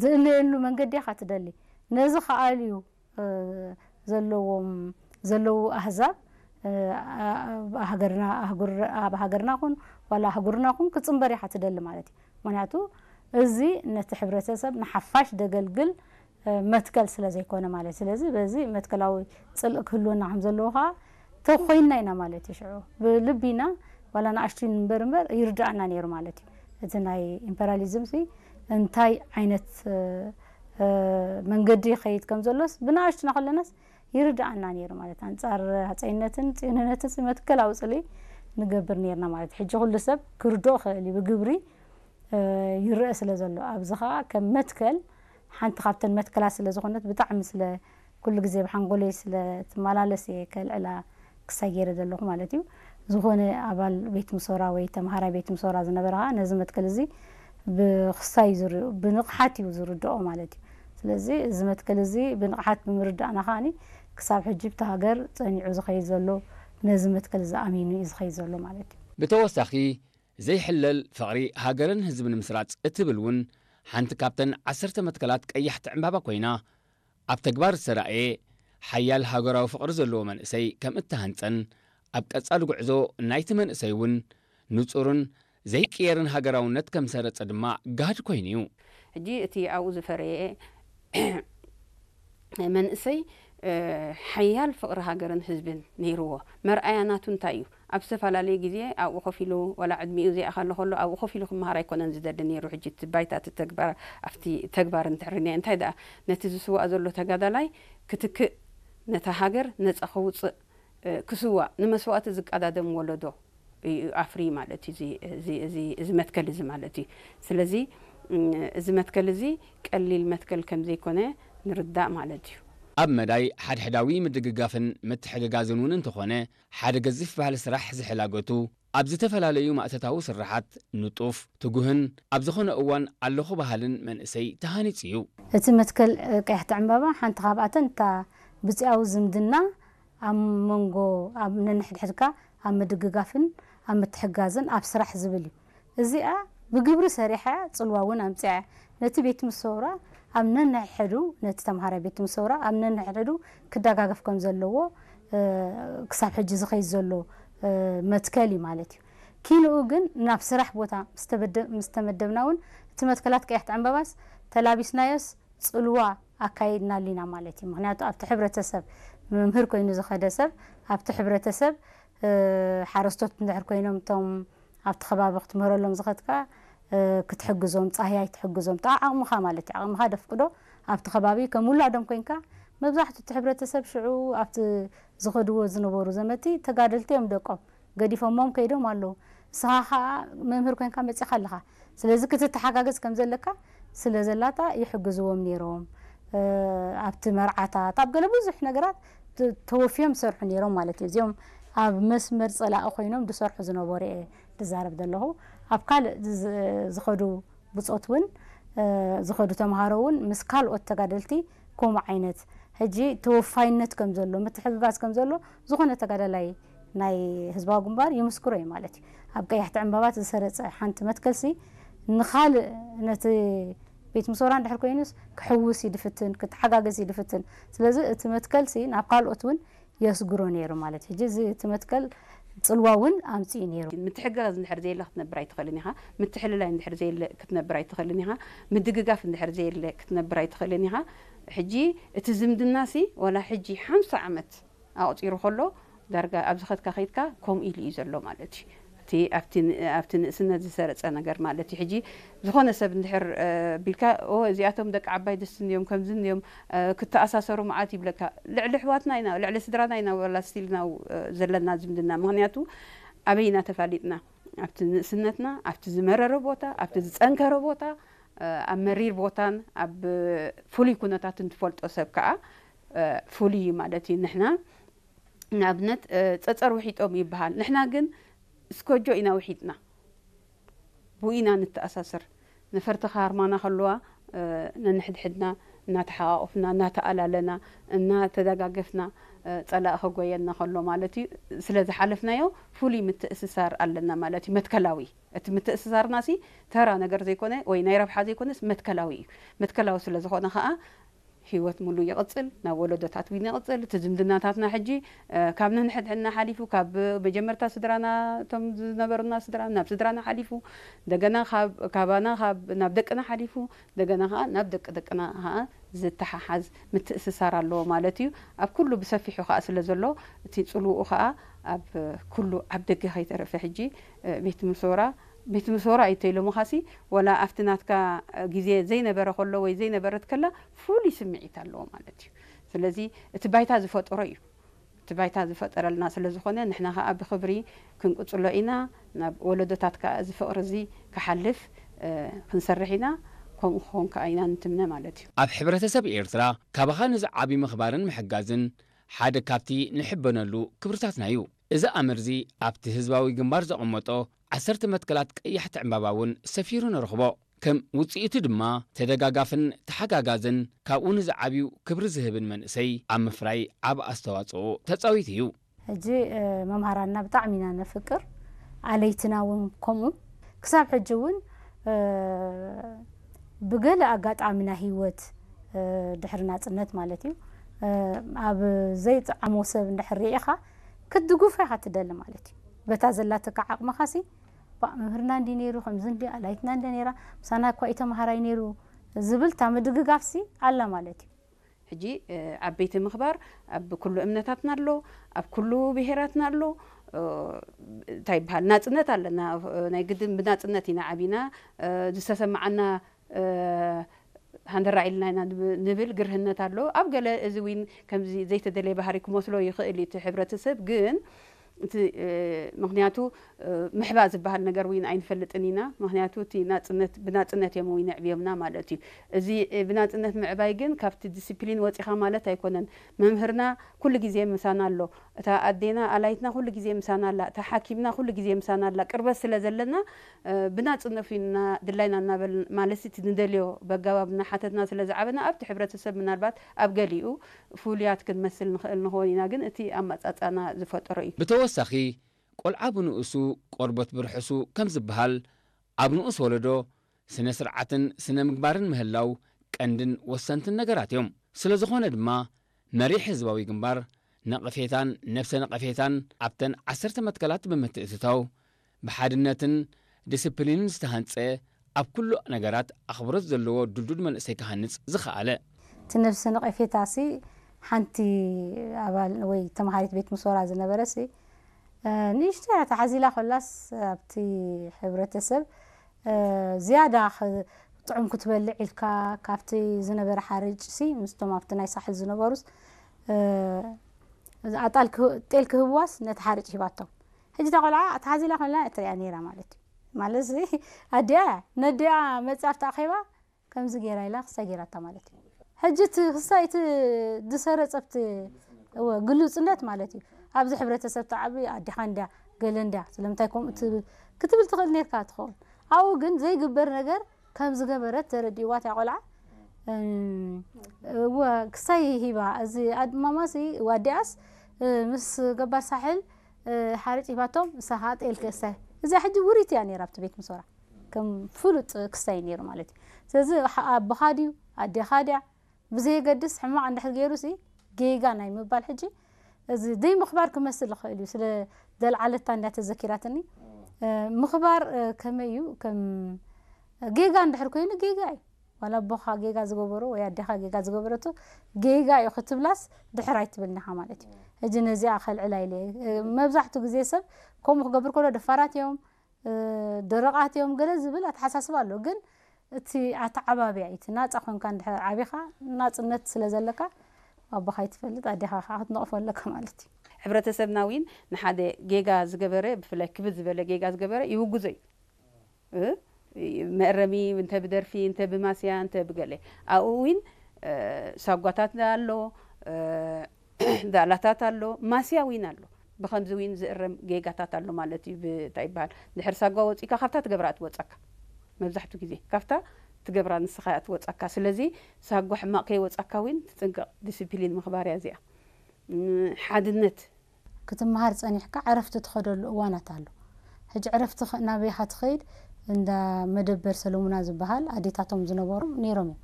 ዝእለየሉ መንገዲ ኢኻ ትደሊ። ነዚ ክኣልዩ ዘለዎም ዘለዉ ኣህዛብ ኣብ ሃገርና ኣህጉር ኣብ ሃገርና ኹን ዋላ ኣህጉርና ኹን ክጽንበር ኢኻ ትደሊ ማለት እዩ። ምክንያቱ እዚ ነቲ ሕብረተሰብ ንሓፋሽ ደገልግል መትከል ስለ ዘይኮነ ማለት። ስለዚ በዚ መትከላዊ ጽልእ ክህልወና ከም ዘለዎ ከዓ ተኾይንና ኢና ማለት እዩ። ሽዑ ብልቢ ኢና ዋላ ንኣሽቱ ንንበር እምበር ይርድኣና ነይሩ ማለት እዩ። እቲ ናይ ኢምፐሪያሊዝም ሲ እንታይ ዓይነት መንገዲ ይኸይድ ከም ዘሎስ ብንኣሽቱና ከለናስ ይርድኣና ነይሩ ማለት። ኣንጻር ሃፀይነትን ጽዮንነትን ሲ መትከላዊ ጽልኢ ንገብር ነርና ማለት። ሕጂ ኩሉ ሰብ ክርድኦ ክእል እዩ ብግብሪ ይረአ ስለ ዘሎ ኣብዚ ከዓ ከም መትከል ሓንቲ ካብተን መትከላት ስለ ዝኾነት ብጣዕሚ ስለ ኩሉ ግዜ ብሓንጎለይ ስለ ትመላለስ እየ ከልዕላ ክሳይ ገይረ ዘለኹ ማለት እዩ። ዝኾነ ኣባል ቤት ምሶራ ወይ ተምሃራይ ቤት ምሶራ ዝነበረ ከዓ ነዚ መትከል እዚ ብክሳይ ዝር ብንቕሓት እዩ ዝርድኦ ማለት እዩ። ስለዚ እዚ መትከል እዚ ብንቕሓት ብምርዳእና ከዓኒ ክሳብ ሕጂ ብቲ ሃገር ጸኒዑ ዝኸይድ ዘሎ ነዚ መትከል እዚ ኣሚኑ እዩ ዝኸይድ ዘሎ ማለት እዩ። ብተወሳኺ ዘይሕለል ፍቕሪ ሃገርን ህዝብን ምስራጽ እትብል እውን ሓንቲ ካብተን ዓሰርተ መትከላት ቀያሕቲ ዕምባባ ኮይና ኣብ ተግባር ዝተራእየ ሓያል ሃገራዊ ፍቕሪ ዘለዎ መንእሰይ ከም እተሃንጸን ኣብ ቀጻሊ ጉዕዞ ናይቲ መንእሰይ እውን ንጹርን ዘይቅየርን ሃገራውነት ከም ዝሰረጸ ድማ ጋህዲ ኮይኑ እዩ። ሕጂ እቲ ኣብኡ ዝፈረየ መንእሰይ ሓያል ፍቕሪ ሃገርን ህዝብን ነይርዎ። መርኣያ ናቱ እንታይ እዩ? ኣብ ዝተፈላለየ ግዜ ኣብኡ ኮፍ ኢሉ ዋላ ዕድሚኡ ዘይኣኸለ ከሎ ኣብኡ ኮፍ ኢሉ ክመሃር ኣይኮነን ዝደሊ ነይሩ። ሕጂ እቲ ባይታ እቲ ተግባር ኣብቲ ተግባር እንድሕር ርኢናዮ እንታይ ደኣ ነቲ ዝስዋእ ዘሎ ተጋዳላይ ክትክእ ነታ ሃገር ነጻ ከውጽእ ክስዋእ ንመስዋእቲ ዝቀዳደም ወለዶ እዩ ኣፍርዩ ማለት እዩ እዚ መትከል እዚ ማለት እዩ። ስለዚ እዚ መትከል እዚ ቀሊል መትከል ከም ዘይኮነ ንርዳእ ማለት እዩ። ኣብ መዳይ ሓድሕዳዊ ምድግጋፍን ምትሕግጋዝን እውን እንተኾነ ሓደ ገዚፍ ባህሊ ስራሕ ዝሕላገቱ ኣብ ዝተፈላለዩ ማእተታዊ ስርሓት ንጡፍ፣ ትጉህን ኣብ ዝኾነ እዋን ኣለኹ በሃልን መንእሰይ ተሃኒጹ እዩ። እቲ መትከል ቀያሕቲ ዕምባባ ሓንቲ ካብኣተን እታ ብጺኣዊ ዝምድና ኣብ መንጎ ኣብ ነንሕድሕድካ ኣብ ምድግጋፍን ኣብ ምትሕግጋዝን ኣብ ስራሕ ዝብል እዩ። እዚኣ ብግብሪ ሰሪሐ እያ፣ ጽልዋ እውን ኣምጺኣ እያ። ነቲ ቤት ትምህርቲ ሰውራ ኣብ ነንሕድሕዱ፣ ነቲ ተምሃራይ ቤት ትምህርቲ ሰውራ ኣብ ነንሕድሕዱ ክደጋገፍ ከም ዘለዎ ክሳብ ሕጂ ዝኸይድ ዘሎ መትከል እዩ ማለት እዩ። ኪንኡ ግን ናብ ስራሕ ቦታ ምስ ተመደብና እውን እቲ መትከላት ቀያሕቲ ዕምባባስ ተላቢስናዮስ ጽልዋ ኣካይድናሉ ኢና ማለት እዩ። ምኽንያቱ ኣብቲ ሕብረተሰብ መምህር ኮይኑ ዝኸደ ሰብ ኣብቲ ሕብረተሰብ ሓረስቶት እንድሕር ኮይኖም እቶም ኣብቲ ከባቢ ክትምህረሎም ዝኸድካ ክትሕግዞም፣ ፃህያይ ትሕግዞም፣ ዓቕምኻ ማለት እዩ። ዓቕምኻ ደፍቅዶ ኣብቲ ከባቢ ከም ውላዶም ኮይንካ መብዛሕትኡ እቲ ሕብረተሰብ ሽዑ ኣብቲ ዝኸድዎ ዝነበሩ ዘመቲ ተጋደልቲ እዮም ደቆም ገዲፎሞም ከይዶም ኣለዉ። ንስኻ ከዓ መምህር ኮይንካ መፂኻ ኣለኻ። ስለዚ ክትተሓጋገዝ ከም ዘለካ ስለ ዘላታ ይሕግዝዎም ነይሮም። ኣብቲ መርዓታት ኣብ ገለ ብዙሕ ነገራት ተወፍዮም ዝሰርሑ ነይሮም ማለት እዩ። እዚኦም ኣብ መስመር ፀላኢ ኮይኖም ዝሰርሑ ዝነበሩ እየ ዝዛረብ ዘለኹ። ኣብ ካልእ ዝኸዱ ብፆት እውን ዝኸዱ ተምሃሮ እውን ምስ ካልኦት ተጋደልቲ ከምኡ ዓይነት ሕጂ ተወፋይነት ከም ዘሎ ምትሕግጋዝ ከም ዘሎ ዝኾነ ተጋዳላይ ናይ ህዝባዊ ግንባር ይምስክሮ እዩ ማለት እዩ። ኣብ ቀያሕቲ ዕምባባት ዝሰረፀ ሓንቲ መትከልሲ ንኻልእ ነቲ ቤት ምሶራ እንድሕር ኮይኑስ ክሕውስ ይድፍትን ክተሓጋገዝ ይድፍትን። ስለዚ እቲ መትከልሲ ናብ ካልኦት እውን የስግሮ ነይሩ ማለት እዩ። ሕጂ እዚ እቲ መትከል ፅልዋ እውን ኣምፅኡ ነይሩ። ምትሕግጋዝ እንድሕር ዘየለ ክትነብር ኣይትኽእልን ኢኻ። ምትሕልላይ እንድሕር ዘየለ ክትነብር ኣይትኽእልን ኢኻ። ምድግጋፍ እንድሕር ዘየለ ክትነብር ኣይትኽእልን ኢኻ። ሕጂ እቲ ዝምድናሲ ዋላ ሕጂ ሓምሳ ዓመት ኣቑፂሩ ከሎ ዳርጋ ኣብ ዝኸድካ ከይድካ ከምኡ ኢሉ እዩ ዘሎ ማለት እዩ። እቲ ኣብቲ ኣብቲ ንእስነት ዝሰረፀ ነገር ማለት እዩ። ሕጂ ዝኾነ ሰብ እንድሕር ቢልካ ኦ እዚኣቶም ደቂ ዓባይ ደስትን እዮም ከምዝን እዮም ክተኣሳሰሩ መዓት ይብለካ። ልዕሊ ኣሕዋትና ኢና ልዕሊ ስድራና ኢና ዋላ ስቲል ናው ዘለና ዝምድና። ምኽንያቱ ኣበይ ኢና ተፋሊጥና? ኣብቲ ንእስነትና ኣብቲ ዝመረረ ቦታ ኣብቲ ዝፀንከረ ቦታ ኣብ መሪር ቦታን ኣብ ፍሉይ ኩነታትን ትፈልጦ ሰብ ከዓ ፍሉይ እዩ ማለት እዩ። ንሕና ንኣብነት ፀፀር ውሒጦም ይበሃል። ንሕና ግን እስኮጆ ኢና ውሒጥና። ብኡ ኢና ንተኣሳሰር። ነፈርቲ ክሃርማና ከለዋ ነንሕድሕድና እናተሓቓቑፍና እናተኣላለና እናተደጋገፍና ጸላእ ከጎየና ከሎ ማለት እዩ፣ ስለ ዝሓለፍናዮ ፍሉይ ምትእስሳር ኣለና ማለት እዩ። መትከላዊ እቲ ምትእስሳርና ሲ ተራ ነገር ዘይኮነ ወይ ናይ ረብሓ ዘይኮነስ መትከላዊ እዩ። መትከላዊ ስለ ዝኾነ ከዓ ህይወት ሙሉ ይቕጽል፣ ናብ ወለዶታት እውን ይቕጽል። እቲ ዝምድናታትና ሕጂ ካብ ነንሕድሕድና ሓሊፉ ካብ መጀመርታ ስድራና እቶም ዝነበሩና ስድራ ናብ ስድራና ሓሊፉ እንደገና ካባና ናብ ደቅና ሓሊፉ እንደገና ከዓ ናብ ደቂ ደቅና ከዓ ዝተሓሓዝ ምትእስሳር ኣለዎ ማለት እዩ። ኣብ ኩሉ ብሰፊሑ ከዓ ስለ ዘሎ እቲ ፅልውኡ ከዓ ኣብ ኩሉ ኣብ ደገ ከይተረፈ ሕጂ ቤት ምሶራ ቤት ምሶራ እዩ ተይሎምኻሲ ወላ ኣብቲ ናትካ ግዜ ዘይነበረ ከሎ ወይ ዘይነበረት ከላ ፍሉይ ስምዒት ኣለዎ ማለት እዩ። ስለዚ እቲ ባይታ ዝፈጠሮ እዩ። እቲ ባይታ ዝፈጠረልና ስለ ዝኾነ ንሕና ከዓ ብክብሪ ክንቅፅሎ ኢና። ናብ ወለዶታት ከዓ እዚ ፍቅሪ እዚ ክሓልፍ ክንሰርሕ ኢና። ከምኡ ክኾን ከዓ ኢና ንትምነ ማለት እዩ። ኣብ ሕብረተሰብ ኤርትራ ካባኻ ንዝዓቢ ምኽባርን ምሕጋዝን ሓደ ካብቲ ንሕበነሉ ክብርታትና እዩ። እዚ ኣምር እዚ ኣብቲ ህዝባዊ ግንባር ዘቐመጦ ዓሰርተ መትከላት ቀያሕቲ ዕምባባ እውን ሰፊሩ ንረኽቦ። ከም ውጽኢቱ ድማ ተደጋጋፍን ተሓጋጋዝን ካብኡ ንዝዓብዩ ክብሪ ዝህብን መንእሰይ ኣብ ምፍራይ ዓቢ ኣስተዋጽኦ ተጻዊቱ እዩ። ሕጂ መምሃራንና ብጣዕሚ ኢና ነፍቅር፣ ኣለይትና እውን ከምኡ። ክሳብ ሕጂ እውን ብገለ ኣጋጣሚ ናይ ህይወት ድሕሪ ናጽነት ማለት እዩ ኣብ ዘይጥዓሞ ሰብ እንድሕር ርኢኻ ክትድግፎ ኢኻ ትደሊ ማለት እዩ። በታ ዘላትካ ዓቕምኻሲ ባእ መምህርና እንዲ ነይሩ ከምዚ እንዲ ኣላይትና እንደ ነይራ ምሳና እኳ እዩ ተምሃራይ ነይሩ ዝብል እታ ምድግጋፍሲ ኣላ ማለት እዩ። ሕጂ ዓበይቲ ምኽባር ኣብ ኩሉ እምነታትና ኣሎ፣ ኣብ ኩሉ ብሄራትና ኣሎ። እንታይ ይበሃል ናፅነት ኣለና። ናይ ግድን ብናፅነት ኢና ዓቢና። ዝተሰማዓና ሃንደራዕ ኢልና ኢና ንብል ግርህነት ኣሎ። ኣብ ገለ እዚ ዊን ከምዚ ዘይተደለየ ባህሪ ክመስሎ ይኽእል እዩ እቲ ሕብረተሰብ ግን እቲ ምክንያቱ ምሕባ ዝበሃል ነገር ዊን ኣይንፈልጥን ኢና። ምክንያቱ እቲ ናፅነት ብናፅነት እዮም ዊን ኣዕብዮምና ማለት እዩ። እዚ ብናፅነት ምዕባይ ግን ካብቲ ዲስፕሊን ወፂኻ ማለት ኣይኮነን። መምህርና ኩሉ ግዜ ምሳና ኣሎ። እታ ኣዴና ኣላይትና ኩሉ ግዜ ምሳና ኣላ። እታ ሓኪምና ኩሉ ግዜ ምሳና ኣላ። ቅርበት ስለ ዘለና ብናፅነት ዊንና ድላይና እናበል ማለት እቲ ንደልዮ በጋባብ እናሓተትና ስለ ዝዓበና ኣብቲ ሕብረተሰብ ምናልባት ኣብ ገሊኡ ፍሉያት ክንመስል ንኽእል ንኸውን ኢና፣ ግን እቲ ኣመጻጽኣና ዝፈጠሮ እዩ። ብተወሳኺ፣ ቆልዓ ብንኡሱ ቆርበት ብርሑሱ ከም ዝበሃል፣ ኣብ ንኡስ ወለዶ ስነ ስርዓትን ስነ ምግባርን ምህላው ቀንድን ወሰንትን ነገራት እዮም። ስለ ዝኾነ ድማ፣ መሪሕ ህዝባዊ ግንባር ነቐፌታን ነብሰ ነቐፌታን ኣብተን ዓሰርተ መትከላት ብምትእትታው፣ ብሓድነትን ዲስፕሊንን ዝተሃንጸ ኣብ ኩሉ ነገራት ኣኽብሮት ዘለዎ ድልዱል መንእሰይ ክሃንጽ ዝኸኣለ። እቲ ነብሰ ነቐፌታ ሲ ሓንቲ ኣባል ወይ ተምሃሪት ቤት ምሶራ ዝነበረ ሲ ንእሽቶ እያ ተሓዚላ ኮላስ ኣብቲ ሕብረተሰብ ዝያዳ ጥዑም ክትበልዕ ኢልካ ካብቲ ዝነበረ ሓርጭ ሲ ምስቶም ኣብቲ ናይ ሳሕል ዝነበሩስ ኣጣል ጤል ክህብዋስ ነቲ ሓርጭ ሂባቶም ሕጂ እታ ቆልዓ ተሓዚላ ኮይና እትሪኣ ነይራ ማለት እዩ። ማለት እዚ ኣዲኣ እያ ነዲኣ መፂኣ ኣብቲ ኣኼባ ከምዚ ገይራ ኢላ ክሳይ ገይራታ ማለት እዩ። ሕጂ እቲ ክሳይ እቲ ዝሰረፀ ኣብቲ እወ ግሉፅነት ማለት እዩ። ኣብዚ ሕብረተሰብ ተዓቢ ኣዲኻ እንድያ ገለ እንድያ ስለምንታይ ከምኡ ክትብል ትኽእል ነርካ ትኸውን። ኣብኡ ግን ዘይግበር ነገር ከም ዝገበረት ተረዲእዋ እታ ቆልዓ እወ ክሳይ ሂባ እዚ ኣድማማሲ ዋዲኣስ ምስ ገባር ሳሕል ሓርጭ ሂባቶም ንሳ ከዓ ጤል ክእሰ እዚኣ ሕጂ ውሪት እያ ነይራ ኣብቲ ቤት ምሶራ ከም ፍሉጥ ክሳይ ነይሩ ማለት እዩ። ስለዚ ኣቦኻ ድዩ ኣዴኻ ድያ ብዘየገድስ ሕማቕ እንድሕር ገይሩ ሲ ጌጋ ናይ ምባል ሕጂ እዚ ደይ ምኽባር ክመስል ይኽእል እዩ። ስለ ዘልዓለታ እንዳ ተዘኪራትኒ ምኽባር ከመይ እዩ ከም ጌጋ እንድሕር ኮይኑ ጌጋ እዩ። ዋላ ኣቦኻ ጌጋ ዝገበሮ ወይ ኣዴኻ ጌጋ ዝገበረቶ ጌጋ እዩ ክትብላስ ድሕር ኣይትብልኒ ኢኻ ማለት እዩ። ሕጂ ነዚኣ ከልዕላ ኢለ እየ። መብዛሕትኡ ግዜ ሰብ ከምኡ ክገብር ከሎ ደፋራት እዮም፣ ደረቓት እዮም ገለ ዝብል ኣተሓሳስባ ኣሎ። ግን እቲ ኣተዓባብያ እዩ። እቲ ናፃ ኮንካ እንድሕር ዓቢኻ ናፅነት ስለ ዘለካ ኣቦኻ ኣይትፈልጥ ኣዴኻ ከዓ ክትነቕፎ ኣለካ ማለት እዩ። ሕብረተሰብና ዊን ንሓደ ጌጋ ዝገበረ ብፍላይ ክብድ ዝበለ ጌጋ ዝገበረ ይውግዞ እዩ። መእረሚ እንተ ብደርፊ እንተ ብማስያ እንተ ብገለ ኣብኡ ዊን ሳጓታት ኣሎ፣ ዳእላታት ኣሎ፣ ማስያ ዊን ኣሎ። ብኸምዚ ዊን ዝእረም ጌጋታት ኣሎ ማለት እዩ። ብታይ ይበሃል ድሕር ሳጓ ወፂእካ ካብታ ትገብራ ትወፀካ መብዛሕቱ ግዜ ካብታ ትገብራ ንስኻ እያ ትወጻካ። ስለዚ ሳጓ ሕማቕ ከይወጻካ እውን ትጥንቀቕ። ዲስፕሊን ምኽባር እያ እዚኣ። ሓድነት ክትመሃር ጸኒሕካ ዕረፍቲ ትኸደሉ እዋናት ኣሎ። ሕጂ ዕረፍቲ ናበይኻ ትኸይድ? እንዳ መደበር ሰለሙና ዝበሃል ኣዴታቶም ዝነበሩ ነይሮም እዮም።